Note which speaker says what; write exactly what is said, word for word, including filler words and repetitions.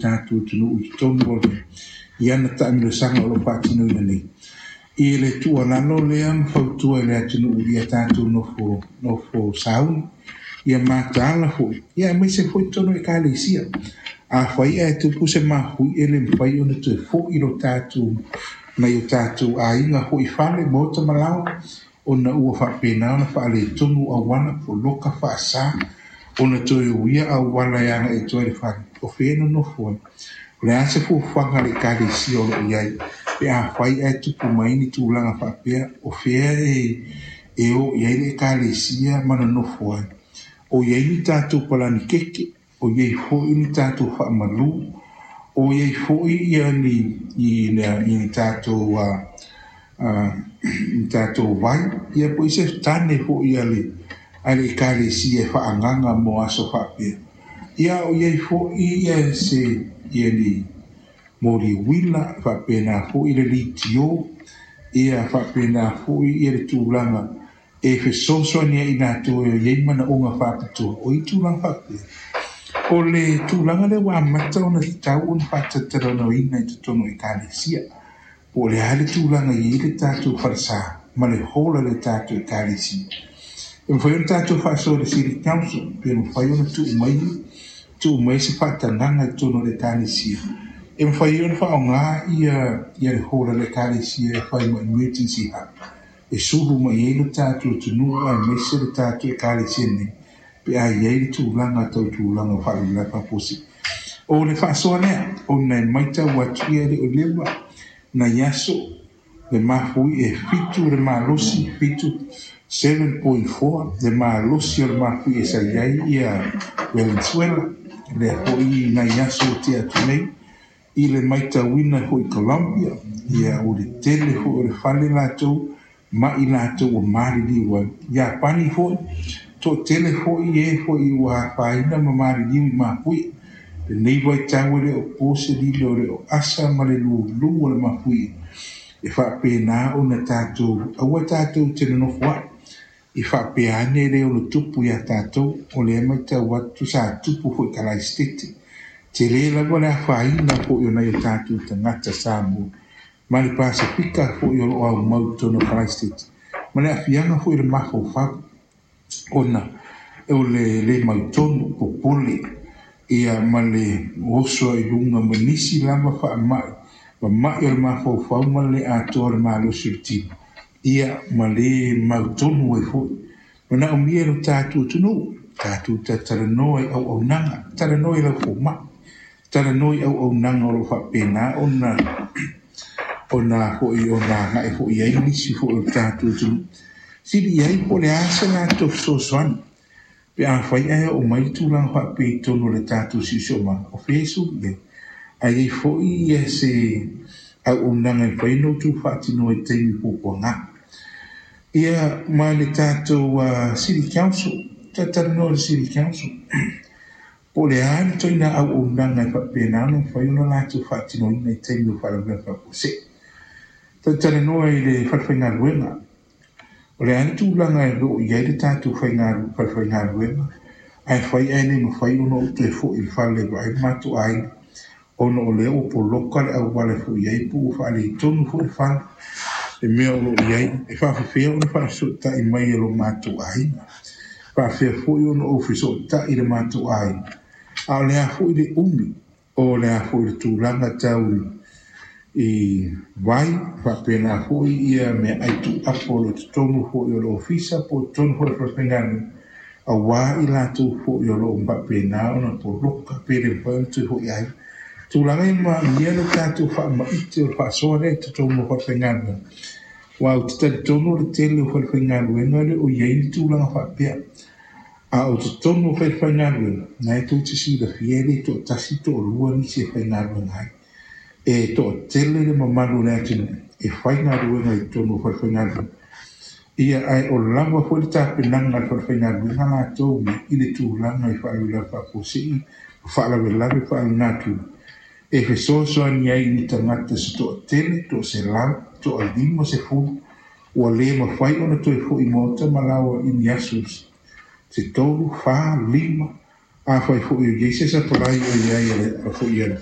Speaker 1: tatou atunuu i totonu o i ana taamilosaga o loo faatinoina nei. I le tuualalo lea ma fautua i le atunuu ia tatou nofo nofo sauni, ia mataala foi, ia aemaise foi totonu o ekalesia. Afai ae tupu se mafuie le mafai ona toe fo'i lo tatou nai o tatou aiga foi fale maota ma laoa, ona ua faapena ona faaletonu auala poloka faasa ona toe uia auala e agai atu ai le fale. O fea e nonofo ai? O le a se fuafuaga a le ekalesia o loo i ai pe afai ae tupu mai ni tulaga faapea? O fea e e o i ai le ekalesia ma nonofo ai? O i ai ni tatou palani keke? O i ai foi ni tatou faamalu? O i ai foi ia ni i ni tatou uh, uh, ni tatou vai ia po i se tane foi a le a le ekalesia e faaagaga mo aso faapea? Ia o i ai foi ia se ia ni moli uila faapena foi le litio, ia faapena foi ia le tulaga e fesoasoani ai i latou e i ai manaoga faapitoa o i tulaga faapea. O le tulaga lea ua amata ona tatau ona faatatalanoaina i totonu o ekalesia, po o le a le tulaga i ai le tatou falesa ma le hola le tatou ekalesia. E mafai ona tatou faasoa i le City Council pe mafai ona tuu mai tuu mai se faatagaga i totonu o le ekalesia e mafai ona faaaoga ia ia le hola le ekalesia e fai ma emergency hub e sulu mai ai le tatou atunuu aemaise le tatou ekalesia nei pe a i ai le tulaga tau tulaga o faalavelave faafuasei. O le faasoa lea ona e matau atu ia e le o leva nai aso le mafui e fitu le malosi, fitu seven point four le malosi o le mafui e sa i ai ia Venezuela. Lea foi nai aso o tea atu nei i le matauina foi Colombia, ia o le tele foi o le fale latou ma i latou ua maliliu ai. Iapani foi toatele foi e foi ua afaina ma maliliu i mafuie. Lenei vaitau e le o po se lilo o le o asa ma le lulu o le mafuie e faapena ona tatou aua tatou te nonofo ai i faapea ane le ono tupu iā tatou. O lea matau atu sa tupu foi Kalaisitete, tele lava le afaina foi o nai o tatou tagata Samoa ma le Pasefika foi o loo aumau i totonu o Kalaisitete ma le aafiaga foi o le mafaufau ona o le le mautonu popole ia ma le oso ai luga ma nisi lava faamai mama'i o le mafaufau ma le atoa o le malosi o le tino ia ma le mautonu ai foi. Manaomia e lo tatou atunuu tatou tatalanoa i auaunaga, talanoa i lau foma'i, talanoa i auaunaga o loo faapena ona ona foi ona agai foi ai nisi foi o le tatou atunuu sili i ai po o le a se latou fesoasoani pe afai ae oo mai le tulaga faapea i totonu o le tatou siosiomaga. O fea e sulu i ai? Ae i ai foi ia se auaunaga e mafai ona outou faatinoa i taimi puapuaga ia ma le tatou uh, City Council. Tatalanoa le City Council po o le a le ituaiga auaunaga e faapena ona mafai ona latou faatinoina i taimi o faalavelave faafuasei. Tatalanoa i le falefaigaluega o le a le tulaga e loo i ai le tatou falefaigaluega ae fai ae le mafai ona ou toe fo'i i le fale vaai le matou aiga ona o lea ua poloka le auala e fo'i ai po ua faaletonu foi le fale le mea o loo i ai. E faafefea ona faafesootai mai e lo matou aiga? Faafefea foi ona ou fesootai i le matou aiga? A o le a foi le umi o le a foi le tulaga tau i vai faapena foi ia mea ai tuuapo o lo totonu foi o le ofisa po o totonu foi o le falefaigaluega auā i latou foi o loo faapena ona poloka pe le mafai ona toe fo'i ai tulaga e maomia lo tatou faamaite o le faasoa lea i totonu o falefaigaluega. Ua ou te talitonu o le tele o falefaigaluega le o i ai ni tulaga faapea, a o totonu o falefaigaluega na e tou te silafia e le toatasi toalua nisi e faigaluega ai, e toatele le mamalu o le atunuu e faigaluega i totonu o falefaigaluega ia, ae o lava foi le tapenaga a le falefaigaluega latou i le tulaga i faalavelave faafuasei, faalavelave faalenatura e fesoasoani ai i tagata se toatele toaselau toalima sefulu ua le mafai ona toe fo'i maota ma laoa i ni aso se tolu fa lima. Afai foi o i ai se sapalai o i ai a foi a le